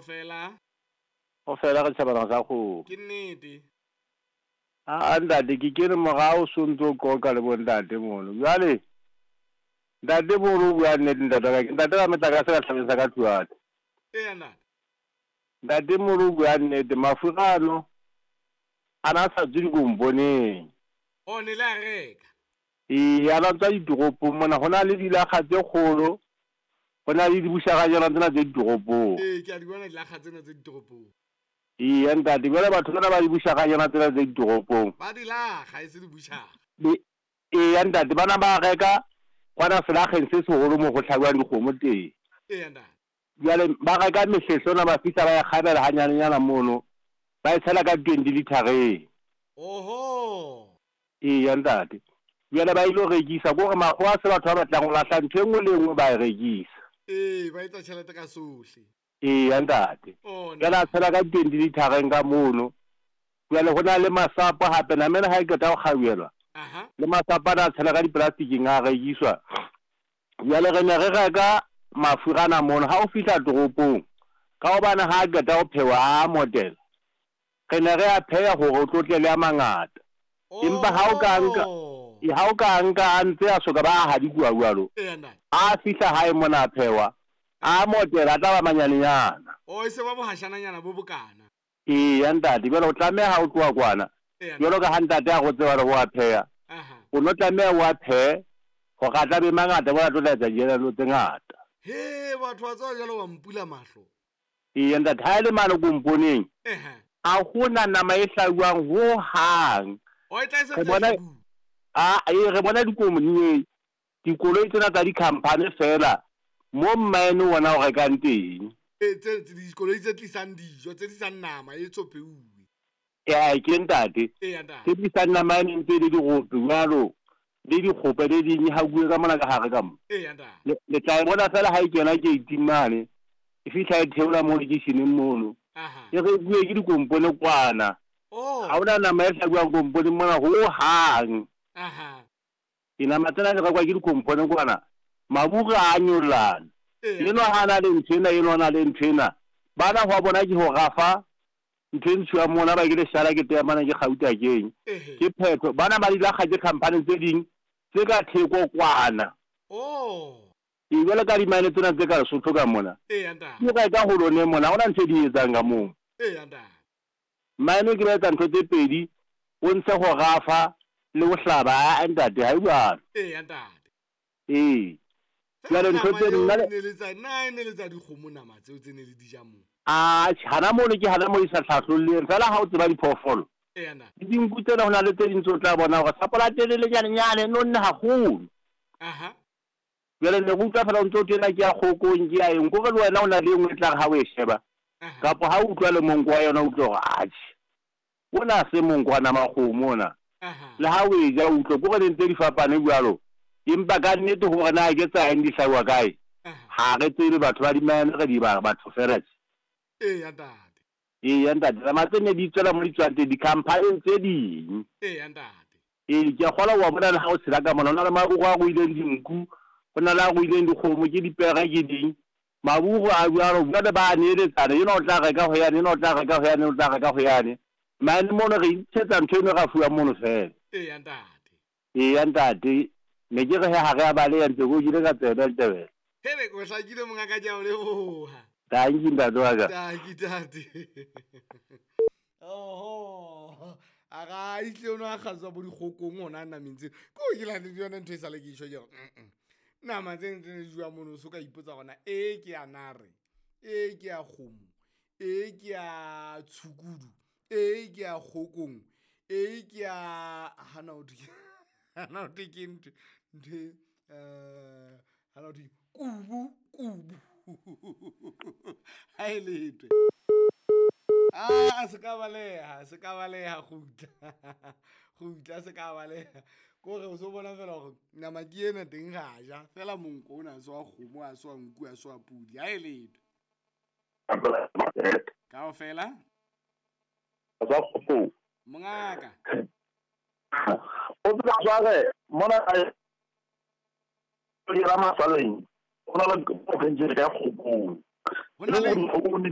Kaofela. Kaofela re tjhabana sa kgomo. Ke nnete. Aa ntate ke kene morao so ntso o qoqa le bo ntate mono. Jwale ntate mono o bua nnete ntate wa ka ke ntate wa metlakase ka tlhabeng sa ka Tluane. Eya ntate. Ntate mono o bua nnete mafura ano a na sa tswe dikomponeng. Oh ne le a reka. Ee a na tswa ditoropong mona ho na le dilakga tse kgolo ho na le dibušaganyana tsena tse ditoropong. Ee ke a di bona dilakga tsena tse ditoropong. Eya ntate, bjale batho bana ba dibušaganyana tsena tse ditoropong. Ba di laga, e se dibušaga. Eya ntate, bana ba reka kwana selageng se segolo mo go hlabiwang dikgomo teng. Eya ntate. Bjale ba reka mehlehlona ba fihla ba e kgabela ganyanenyana mono, ba e tshela ka 20 lithareng. Oho! Eya ntate. Bjale ba ilo rekisa, ko gore makgowa se batho ba batlang go lahla ntho e nngwe le e nngwe ba e rekisa. Ee, ba etsa tšhelete ka sohle. Eya, ntate. Oh, Bjale a tshela ka 20 lithareng ka mono. Bjale go na le masapo gape, nama ena ga e qeta go kgauelwa, Aha. le masapo ana a tshela ka dipolasticking a rekiswa. Bjale re ne re reka mafurana mono, ga o fihla toropong, ka gobane ga a qeta go phewa a motela, re ne re a pheya gore o tlo tle le a mangata. Empa ga o ka nka, Oho. ga o ka nka a ntse a soka ba a hadikuwa bjalo, Eya, ntate. a fihla gae mona a phewa, a motela a tla ba manyanenyana. Oh, e se ba bohašananyana bo bokana. Eya, ntate, bjale o tlameha o tloha kwana, Eya, bjalo ka ga ntate a go tseba le go a pheya, Aha. o no tlameha o a pheye gore a tla be mangata, bona a tlo tla etsa dielelo tse ngata. He, batho wa tseba jalo wa mpula mahlo. Eya, ntate, ha e le mane komponeng, Ehe. a go na nama e hlabiwang ho hang. Oh, e tla e Re sentse e bona, hlabuwa. a, ee, re bona dikomoni, dikoloi tsena tsa di-company fela, mo mmaene wona o rekang teng. Ee, tse, tse, dikoloi tse tlisang dijo, tse tlisang nama e tsopheuwe. Ee, ke ntate. Eya, ntate. Tse tlisang nama e ntse e le dirope jwalo, le dikgope le ding hakuwe ka mona ka gare ka mo. Eya, ntate. Le tla e bona fela ha e kena gate-ing mane, e fihla e theola mo lekeisheneng mono. Aha. E rekuwe ke dikompone kwana. Oh. Ha hona nama e hlabuwang komponeng mona ho hang. Aha. Dinama tsena di rekwa ke dikompone kwana. Maburu a nyollana. Eya. Enwa ha na le ntho ena, enwa na le ntho ena. Bana ho bona ke ho rafa ntho e ntshiwang mona ba ke leshala ke teamana ke gauta keng. Ehe. Ke phetho. Bana ba di lakga ke company tse ding tse ka theko kwana. Oh. Ee, jwalo ka dimane tsena tse ka Lesotho ka mona. Eya, ntate. Ke reka ho lone mona, ha hona ntho e di etsang ka moo. Eya, ntate. Mine ke ba etsa ntho tse pedi, o ntshe go rafa le go hlaba. Aa ntate, ha e jwalo. Eya, ntate. Ee. Fela Jwale ntho nama tse eo nna le ne le tsa, na e ne le tsa dikgomo nama tseo tse ne le di ja moo? Atjhe, hana mono ke hana moo e sa hlahlolleng. Fela ha o tseba diphoofolo, Eya, ntate. le dinku tsena ho na le tse ding tse o tla bona hore sapo la telele nyanenyane, nonne haholo. Aha. Jwale ne re utlwa fela o ntso o tena ke ya kgokong, ke ya eng. Kore le wena o na le e nngwe e tla re ha o e sheba, Aha. kapa ha o utlwa le monko wa yona o utlwa hore atjhe, ona ha se monko wa nama kgomo ona. Aha. Le ha o e ja o utlwe, kore di ntse di fapane jwalo. Empa ka nnete hore na ke tsa eng di hlahiwa kae, Aha. ha re tsebe batho ba dimane re di ba batho fela tje. Eya, ntate. Eya, ntate, nama tse ne di tswela mo di tswang teng, di-company tse ding. Eya, ntate. Ee, ke a kgolwa wa bona le ha o tshela ka mona, ho na le maruo a ruileng dinku, ho na le a ruileng dikgomo, ke dipere ke ding. Maruo a jwalo, jwale ba a neeletsana, enwa o tla reka ho yane, enwa o tla reka ho yane, o tla reka ho yane. Mane mono re intshetsa ntho eno ra fuwa mono fela. Eya, ntate. Eya, ntate, ne ke re he ha re a baleha ntse ko kile ka tsebe Ntebele. Hele, o hlakile mongaka, ke a o leboha. Tanki ntate wa ka. Tanki tate. Oho. A ga itle ono a kgatswa bo dikgokong ona nameng tseno. Ko ke la le yona ntho e sale ke isho ke re, mm. Nama tse ntse di jwa mono so ka ipotsa gona e ke ya nare, e ke ya kgomo, e ke ya tshukudu, e ke ya kgokong, e ke ya hana o ke hana o ke ntho ntho hana o kubu kubu. Ha e letwe. Ah, se ka baleha, se ka baleha kgutla. Kgutla se ka baleha. Kore o so bona fela hore nama ke ena teng ra ja, fela monko ona a se wa kgomo, a se wa nku, a se wa pudi. Ha e letwe. Kaofela? Tsa kgopo. Mongaka. O tseba jwale mona di ra masaleng. Ho na le province ka kgokong. Ho na le Kgokong